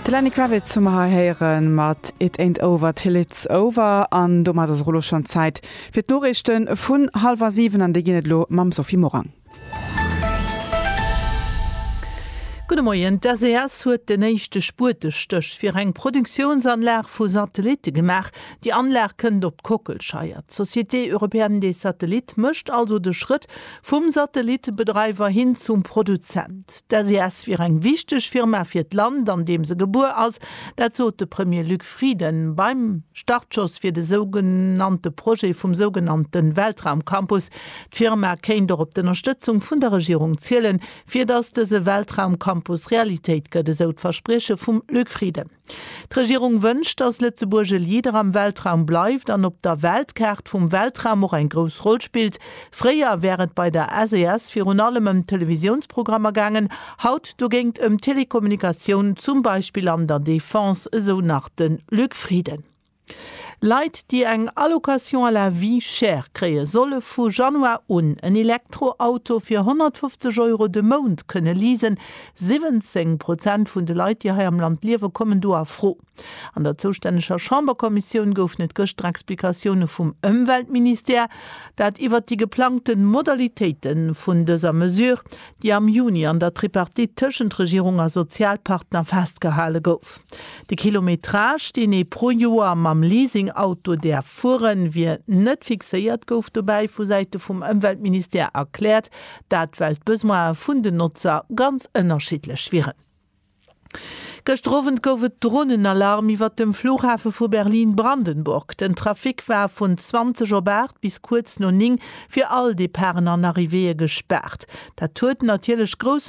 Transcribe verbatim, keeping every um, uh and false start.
De Lenny Kravitz hu mer hei héiere mat It Ain't Over Till It's Over an domat ass elo schonn Zäit fir d'Noriichte vun hallwer siwen an déi ginn et elo mam Sophie Morang. Gudde Moien, D'SES huet den éischte Spuetestéch fir eng Produktiounsanlag vu Satellitte gemaach. Déi Anlag kënnt op d'Kockelscheier. D'Société Européenne des Satellites mécht also de Schrëtt vum Satellittebedreiwer hin zum Produzent. D'SES wier eng wichteg Firma fir d'Land, an deem se gebuer ass. Dat sot de Premier Luc Frieden beim Startschoss fir de sougenannte Projet vum sougenannte Weltraumcampus. D'Firma kéint och op d'Ënnerstëtzung vun der Regierung zielen, fir datt dëse Weltraumcampus Realitéit gëtt, esou d'Versprieche vum Luc Frieden. D'Regierung wënscht, datt Lëtzebuerg e Leader am Weltraum bleift an op der Weltkaart vum Weltraum och eng grouss Roll spillt. Fréier wär et bei der SES virun allem ëm Televisiounsprogrammer gaangen, haut dogéint ëm Telekommunikatioun, zum Beispill an der Defense, esou nach de Luc Frieden. Leit, déi eng Allocation à la vie chère kréien, solle vu Januar un en Elektroauto fir honnertfofzeg Euro de Mount kënne leasen. siwwenzéng Prozent vun de Leit, déi hei am Land liewen, kommen do a Fro. An der zoustänneger Chamberkommissioun goufen et gëschter Explikatioune vum Ëmweltministère, dat iwwert déi geplangte Modalitéite vun dëser Mesure, déi am Juni an der Tripartite tëschent Regierung a Sozialpartner festgehale gouf. De Kilometrage, deen ee pro Joer mam Leasing-Auto däerf fueren, wier net fixéiert, gouf dobäi vu Säite vum Ëmweltministère erkläert. Dat well d'Besoine vun den Notzer ganz ënnerschiddlech wieren. Gëschter Owend gouf et Dronenalarm iwwert dem Flughafe vu Berlin-Brandenburg. Den Trafic war vun zwanzeg op aacht bis kuerz no néng fir all Departen an Arrivéeë gespaart. Dat huet natierlech grouss.